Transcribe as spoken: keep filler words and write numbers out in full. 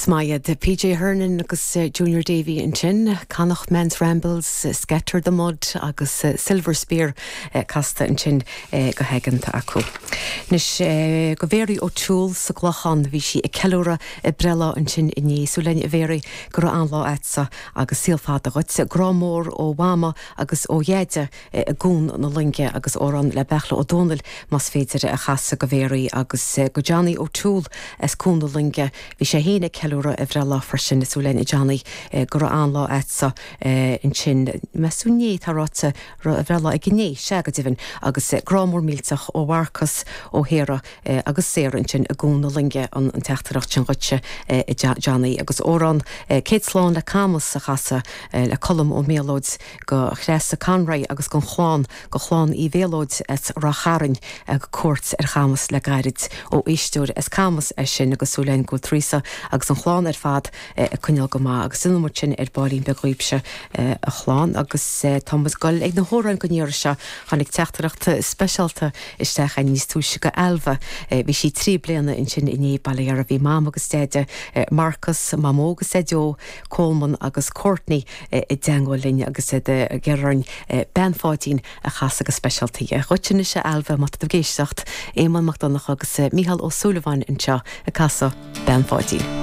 Is maith iad P J Hernon agus Junior Davy ansin, Connacht Man's Rambles, Scatter the Mud agus Silver Spear casta ansin go haigeanta acu. Anois go Mary O'Toole sa gClochán, bhí sí ag ceiliúradh a breithlá ansin inné. Súil linn, a Mhary, go raibh an-lá agatsa agus saol fada dhuit. Grá mór ó Mhama agus ó Dheaide i gCuan na Loinge agus amhrán le Beartla Ó Domhnaill más féidir a chasadh go Mhary agus go Johnny O'Toole as Cuan na Loinge. Bhí sé féin ag ceiliúradh a bhreithlá freisin. Súil linn, a Johnny, go raibh an-lá agatsa ansin meas tú inné tá ráite a bhreithlá ag inné, sea go deimhin, agus grá mór millteach ó Mharcas ó Shéara agus Sarah ansin i gCuan na Loinge an an teachtaireacht sin dhuitse, Johnny, agus amhrán Céad Slán le Camas a chasadh le Colm Ó Méalóid go Threasa Conroy agus gon chlann go chlann Uí Mhéalóid as Ráth Chairn ag cuairt ar Chamas le gairid, ó éisteoir as Camas é sin, agus súil linn go bhfuil Teresa agus an chlann ar fad ag coinneáil go maith agus ina sin ar baillín beag dhaoibhse, a chlann. Agus tá muid ag goil ag na hamhráin don iarraidh seo. Tháinig teachtaireacht speisialta isteach níos túisce go Ailbhe. Bhí sí trí bliana ansin inné. Baile a bhí mam agus deaide, Marcus, Mamó agus Daideo, Coleman agus Courtney i dteagmháil linn agus iad ag iarraidh Bean Pháidín a chasadh go speisialta. Dhuit anois, Ailbhe, má tá tú ag éisteacht, Éamonn Mac Donncha agus Mícheál Ó Súilleabháin anseo ag casadh Bean Pháidín.